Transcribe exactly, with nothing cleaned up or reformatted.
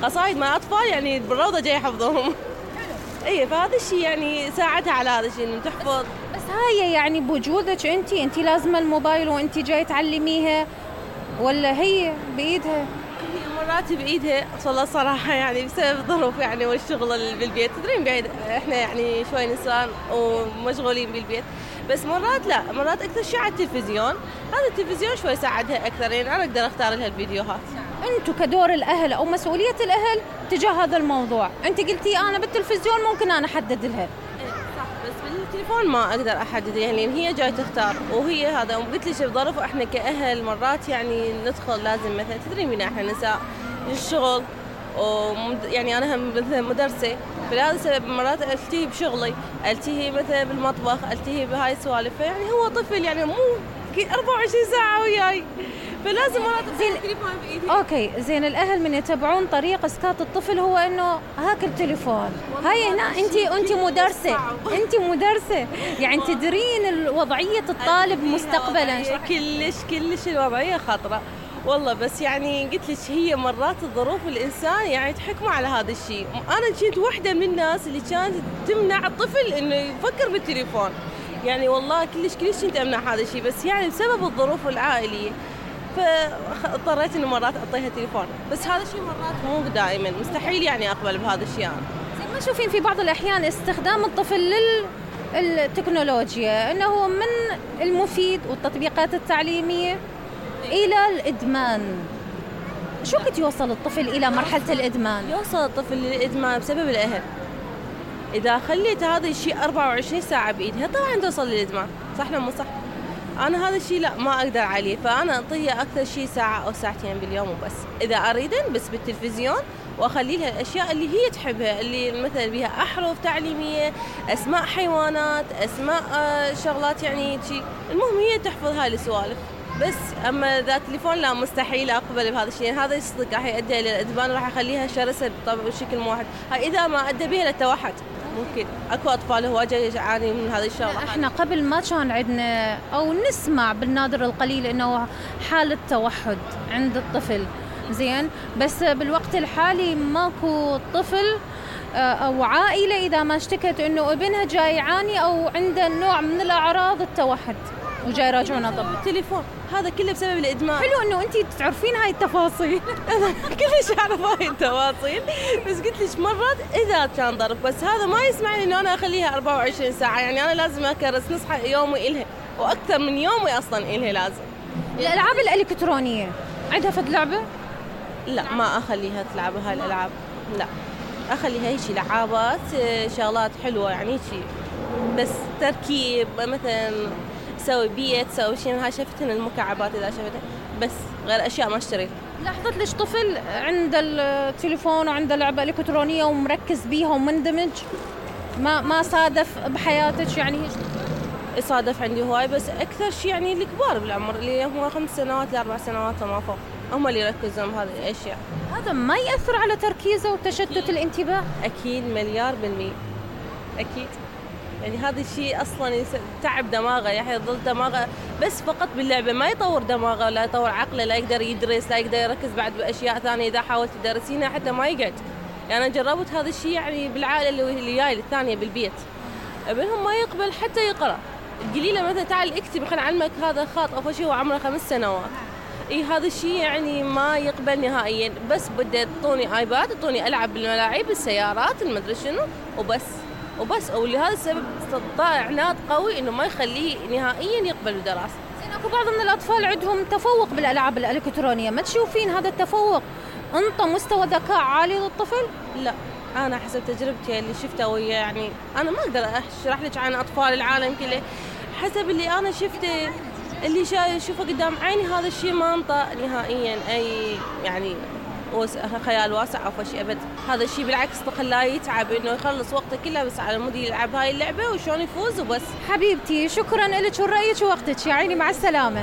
قصايد مع اطفال يعني بالروضه جاي يحفظهم. اي فهذا الشيء يعني ساعدها على هذا الشيء انه تحفظ. بس هاي يعني بوجودك انت انت لازم الموبايل وانت جاي تعلميها ولا هي بايدها؟ هي مرات بايدها والله صراحه يعني بسبب الظروف يعني والشغل بالبيت، تدرين بعيد احنا يعني شوي نسان ومشغولين بالبيت، بس مرات لا، مرات اكثر شيء على التلفزيون. هذا التلفزيون شوي ساعدها اكثر، يعني انا اقدر اختار لها الفيديوهات. انتم كدور الاهل او مسؤوليه الاهل تجاه هذا الموضوع، انت قلتي انا بالتلفزيون ممكن انا احدد لها. صح، بس بالتليفون ما اقدر ااحدد، يعني هي جاي تختار وهي هذا. وقلت لك بظرف احنا كاهل مرات يعني ندخل لازم مثلا تدري مين احنا نساء الشغل، ويعني انا هم مثلا مدرسه، فلهذا السبب مرات التهي بشغلي، التهي مثلا بالمطبخ، التهي بهاي السوالف، يعني هو طفل يعني مو أربعة وعشرين ساعه وياي، فلازم مرات زين التليفون بايدي. اوكي زين، الاهل من يتبعون طريق اسكات الطفل هو انه هاك التليفون. هاي هنا انت انت مدرسه انت مدرسه يعني تدرين وضعيه الطالب مستقبلا. كلش كلش الوضعيه خطره والله، بس يعني قلت لك هي مرات الظروف الانسان يعني تحكمه على هذا الشيء. انا كنت واحده من الناس اللي كانت تمنع الطفل انه يفكر بالتليفون، يعني والله كلش كلش كنت امنع هذا الشيء، بس يعني بسبب الظروف العائليه فاضطريت انه مرات اعطيها تليفون، بس هذا الشيء مرات مو دائما، مستحيل يعني اقبل بهذا الشيء. انا زين ما تشوفين في بعض الاحيان استخدام الطفل للتكنولوجيا انه من المفيد والتطبيقات التعليميه الى الادمان؟ شو قد يوصل الطفل الى مرحله الادمان؟ يوصل الطفل للادمان بسبب الاهل. اذا خليت هذا الشيء أربعة وعشرين ساعه بايدها طبعا توصل للادمان، صح ولا مو صح؟ انا هذا الشيء لا ما اقدر عليه، فانا اعطيها اكثر شيء ساعه او ساعتين باليوم وبس، اذا اريدن بس بالتلفزيون، واخلي لها الاشياء اللي هي تحبها، اللي مثلا بها احرف تعليميه، اسماء حيوانات، اسماء شغلات يعني شيء، المهم هي تحفظ هاي السوالف بس. اما ذا التليفون لا، مستحيل اقبل بهذا الشيء، هذا الصدق راح يؤدي الى الادمان، راح يخليها شرسه بشكل واحد. هاي اذا ما ادى بها للتوحد، ممكن اكو اطفال هواجه يعاني من هذه الشغله. احنا قبل ما كان عندنا او نسمع بالنادر القليل انه حاله توحد عند الطفل، زين، بس بالوقت الحالي ماكو طفل او عائله اذا ما اشتكت انه ابنها جاي يعاني او عنده نوع من الاعراض التوحد وجاي يراجعونه طب التليفون، هذا كله بسبب الادمان. حلو انه انت تعرفين هاي التفاصيل. كلش اعرف هاي التفاصيل، بس قلت لك مرات اذا كان ضرب، بس هذا ما يسمعني انه انا اخليها أربعة وعشرين ساعه، يعني انا لازم اكرس نصحى يومي الها واكثر من يومي اصلا الها لازم. الالعاب الالكترونيه عندها فد لعبه؟ لا ما اخليها تلعب هاي الالعاب، لا اخليها هيك لعابات شغلات حلوه يعني شيء، بس تركيب مثلا سوي بيت، سوي شيء، هاي شفتن المكعبات اذا شفتها، بس غير اشياء ما اشتريها. لاحظت ليش طفل عنده التليفون وعنده لعبه الكترونيه ومركز بيها ومندمج؟ ما ما صادف بحياتك يعني؟ صادف عندي هواي، بس اكثر شيء يعني الكبار بالعمر اللي هم خمس سنوات لاربع سنوات وما فوق، هم اللي يركزون بهذه الاشياء. هذا ما ياثر على تركيزه وتشتت الانتباه؟ اكيد مليار بالمية، اكيد. يعني هذا الشيء اصلا يتعب دماغه، يعني يظل دماغه بس فقط باللعبه، ما يطور دماغه، لا يطور عقله، لا يقدر يدرس، لا يقدر يركز بعد باشياء ثانيه. اذا حاولت تدرسينها حتى ما يقعد. يعني انا جربت هذا الشيء يعني بالعائله اللي اللي جاي الثانيه بالبيت، ابنهم ما يقبل حتى يقرا. القليله مثلا تعال اكتب خلينا نعلمك هذا خط او شيء وعمره خمس سنوات، اي هذا الشيء يعني ما يقبل نهائيا. بس بدي تعطوني ايباد، تعطوني العب بالملاعب، بالسيارات، المدري شنو، وبس وبس. ولهذا السبب استطاع عناد قوي انه ما يخليه نهائيا يقبل بالدراسه. زين اكو بعض من الاطفال عندهم تفوق بالالعاب الالكترونيه، ما تشوفين هذا التفوق انطى مستوى ذكاء عالي للطفل؟ لا، انا حسب تجربتي اللي شفتها ويا، يعني انا ما اقدر اشرح لك عن اطفال العالم كله، حسب اللي انا شفته اللي شوفه قدام عيني، هذا الشيء ما انطى نهائيا اي يعني خيال واسع او شيء ابد. هذا الشيء بالعكس خلاه يتعب انه يخلص وقته كله بس على مود يلعب هاي اللعبه وشلون يفوز وبس. حبيبتي شكرا لك ورأيك ووقتك، يا عيني مع السلامه.